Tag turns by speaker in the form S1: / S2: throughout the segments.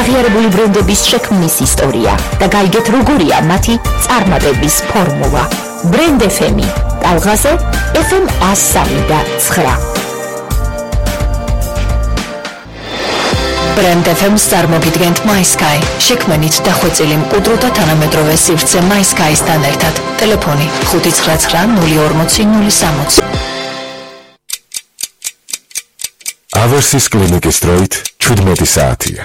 S1: აღიარებული ბრენდების შექმნის ისტორია და გაიგეთ როგორია მათი წარმატების ფორმულა. Brand FM-ი, ტალღაზე FM 103.9. Brand FM-ს წარმოგიდგენთ MySky. შექმნით დახვეწილი მყუდრო და თანამედროვე სივრცე MySky-სთან ერთად. ტელეფონი 599 040 060.
S2: ავერსის კლინიკის დროით 17 საათია.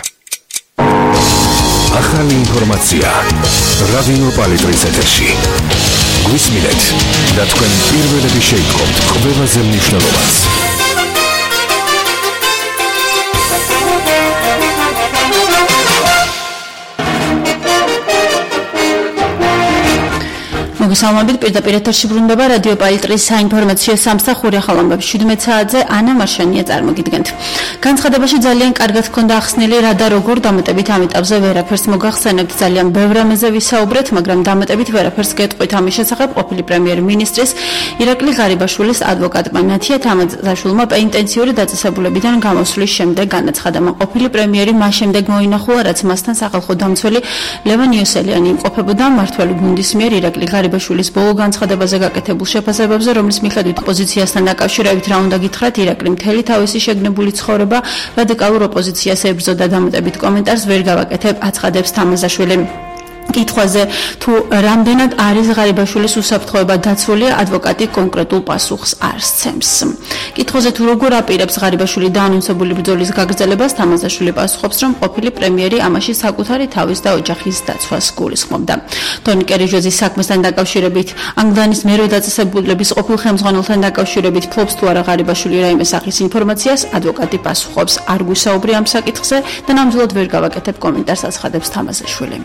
S2: ახალი ინფორმაცია რადიო პალიტრის ეთერში. გვისმინეთ და თქვენ პირველები შეიტყობთ ყველაზე მნიშვნელოვანს.
S3: მოგესალმებით, პირდაპირ ეთერში ბრუნდება რადიო პალიტრის საინფორმაციო სამსახური. ახალ ამბებს 17 საათზე ანა მარშანია წარმოგიდგენთ. განცხადებაში ძალიან კარგად ჰქონდა ახსნილი რა და როგორ დამატებით ამ ეტაპზე ვერაფერს მოგახსენებთ. ძალიან ბევრ რამეზე ვისაუბრეთ, მაგრამ დამატებით ვერაფერს გეტყვით ამის შესახებ ყოფილი პრემიერ-მინისტრის ირაკლი ღარიბაშვილის ადვოკატმა ნათია თამაზაშვილმა პენიტენციური დაწესებულებიდან გამოსვლის შემდეგ განაცხადა, მან ყოფილი პრემიერი მას შემდეგ მოინახულა, რაც მასთან სახალხო დამცველი ლევან იოსელიანი იმყოფებოდა მმართველი გუნდის მიერ ირაკლი ღარიბაშვილის ბოლო განცხადებაზე გაკეთებულ შეფასებებზე, რომლის მიხედვით ოპოზიციასთან დაკავშირებით რა უნდა გითხრათ, ირაკლი მთელი თავისი შეგნებული ცხოვრება რადიკალურ ოპოზიციას ებრძოდა. დამატებით კომენტარს ვერ გავაკეთებ, აცხადებს თამაზაშვილი. კითხვაზე თუ რამდენად არის ღარიბაშვილის უსაფრთხოება დაცული, ადვოკატი კონკრეტულ პასუხს არ სცემს. კითხვაზე თუ როგორ აპირებს ღარიბაშვილი დაანონსებული ბრძოლის გაგრძელებას, თამაზაშვილი პასუხობს, რომ ყოფილი პრემიერი ამაში საკუთარი თავის და ოჯახის დაცვას გულისხმობდა. ტონი კერიჟოზის საქმესთან დაკავშირებით, ანგლანის მერვე დაწესებულების ყოფილ ხელმძღვანელთან დაკავშირებით ფლობს თუ არა ღარიბაშვილი რაიმე სახის ინფორმაციას, ადვოკატი პასუხობს, არ გვისაუბრე ამ საკითხზე და ნამდვილად ვერ გავაკეთებ კომენტარს, აცხადებს თამაზაშვილი.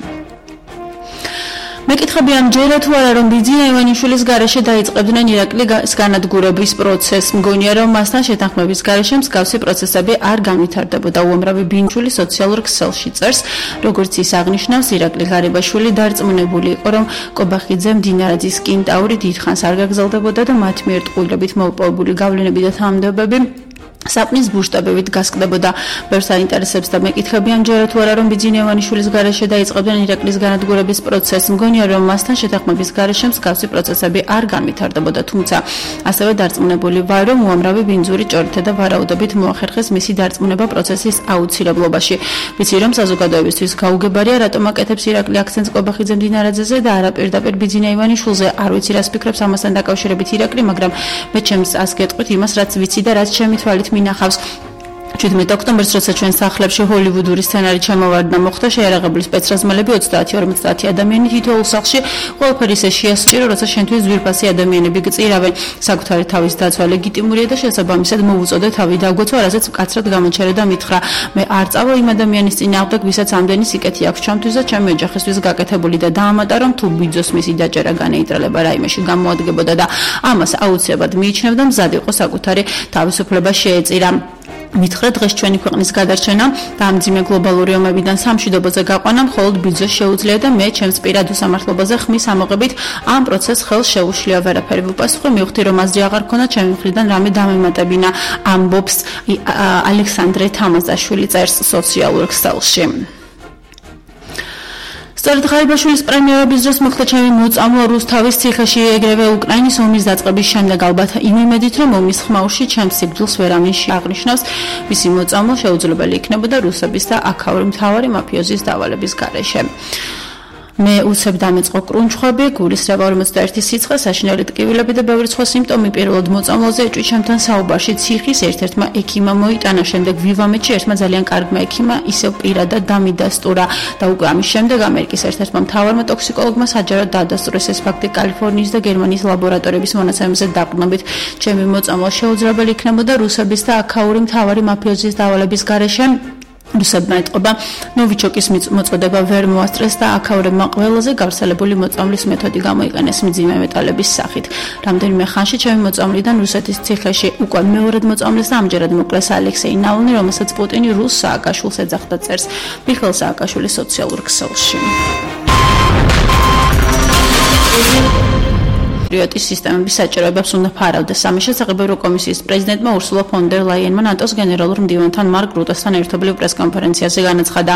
S3: მეკითხები ამჯერა თუ არა, რომ ბიძინა ივანიშვილის გარეშე დაიწყებდნენ ირაკლის განადგურების პროცესს. მგონია, რომ მასთან შეთანხმების გარეშე მსგავსი პროცესები არ განვითარდებოდა. უამრავი ბინჩული სოციალურ ქსელში წერს, როგორც ის აღნიშნავს, ირაკლი ღარიბაშვილი დარწმუნებული იყო, რომ კობახიძე მდინარაძის კენტაური დიდხანს არ გაგრძელდებოდა და მათ მიერ ტყუილებით მოპოვებული გავლენები და თანამდებობები საპნის ბუშტაბებით გასკდებოდა. ბევრს აინტერესებს და მეკითხები ამჯერა თუ არა, რომ ბიძინა ივანიშვილის გარეშე დაიწყებდნენ ირაკლის განადგურების პროცესს. მგონია, რომ მასთან შეთანხმების გარეშე მსგავსი პროცესები არ განვითარდებოდა, თუმცა ასევე დარწმუნებული ვარ, რომ უამრავი ბინძური ჭორითა და ვარაუდობით მოახერხეს მისი დარწმუნება პროცესის აუცილებლობაში. ვიცი, რომ საზოგადოებისთვის გაუგებარია, რატომ აკეთებს ირაკლი აქცენტს კობახიძე მდინარაძეზე და არა პირდაპირ ბიძინა ივანიშვილზე. არ ვიცი, რას ფიქრობს ამასთან დაკავშირებით ირაკლი, მაგრამ მე ჩემს ას გეტყვით იმას, რაც ვიცი და რაც ჩემი თვალით მინახავს. 17 ოქტომბერს, როცა ჩვენ სახლებში ჰოლივუდური სცენარი ჩამოვარდნა, მოხდა შეიარაღებული სპეცრაზმელები 30-50 ადამიანი თითოეულ სახლში, ყველაფერი ისე შეასწირო, როცა შენთვის ძვირფასი ადამიანები გწირავენ. საკუთარი თავის დაცვა ლეგიტიმურია და შესაბამისად მოუწოდე თავი დაგვეცვა, რაზეც მკაცრად გამოჩერე და მითხრა, მე არ წავალ იმ ადამიანის წინააღმდეგ, ვისაც ამდენი სიკეთი აქვს ჩემთვის და ჩემი ოჯახისთვის გაკეთებული და დაამატა, რომ თუ ბიძოს მისი დაჭერა განეიტრალება რაიმეში გამოადგებოდა და ამას აუცილებლად მიიჩნევდა, მზად იყო საკუთარი თავისუფლება შეეწირა. მითხრა, დღეს ჩვენი ქვეყნის გადარჩენა და ამ ძიმე გლობალური ომებიდან სამშვიდობოზე გაყვანა მხოლოდ ბიძოს შეუძლია და მე ჩემს პირად უსამართლობაზე ხმის ამოღებით ამ პროცესს ხელს შეუშლია. ვერაფერი ვუპასუხე, მივხვდი, რომ აზრი აღარ ქონდა ჩემი მხრიდან რამე დამემატებინა, ამბობს ალექსანდრე თამაზაშვილი, წერს სოციალურ ქსელში. სწორედ ღარიბაშვილის პრემიერების დროს მოხდა ჩემი მოწამვლა რუსთავის ციხეში, ეგრევე უკრაინის ომის დაწყების შემდეგ, ალბათ იმ იმედით, რომ ომის ხმაურში ჩემს სიკვდილს ვერავინ აღნიშნავს, მისი მოწამვლა შეუძლებელი იქნებოდა რუსების და აქაური მთავარი მაფიოზის დავალების გარეშე. მე უცებ დამეწყო კრუნჩხვები, გულისრევა 41 სიცხე, საშინელი ტკივილები და ბევრი სხვა სიმპტომი. პირველად მოწამვლაზე ეჭვი ჩემთან საუბარში ციხის ერთ-ერთმა ექიმმა მოიტანა, შემდეგ ვივამეთში ერთმა ძალიან კარგმა ექიმმა ისევ პირადად დამიდასტურა და უკვე ამის შემდეგ ამერიკის ერთ-ერთმა მთავარმა ტოქსიკოლოგმა საჯაროდ დაადასტურეს ეს ფაქტი კალიფორნიის და გერმანიის ლაბორატორიების მონაცემებზე დაყრდნობით. ჩემი მოწამვლა შეუძლებელი იქნებოდა რუსების და აქაური მთავარი მაფიოზის დავალების გარეშე. რუსებმა ეტყობა, ნოვიჩოკის მოწოდება ვერ მოასწრეს და აქაურებმა ყველაზე გავრცელებული მოწამვლის მეთოდი გამოიყენეს მძიმე მეტალების სახით. რამდენიმე ხანში ჩემი მოწამვლიდან რუსეთის ციხეში უკვე მეორედ მოწამვლეს და ამჯერად მოკლეს ალექსეი ნავალნი, რომელსაც პუტინი რუს სააკაშვილს ეძახდა, წერს მიხეილ სააკაშვილის სოციალურ ქსელში. პატრიოტის სისტემების საჭიროებებს უნდა ფარავდეს. ამის შესახებ ევროკომისიის პრეზიდენტმა ურსულა ფონ დერ ლაიენმა ნატოს გენერალურ მდივანთან მარკ რუტესთან ერთობლივ პრესკონფერენციაზე განაცხადა.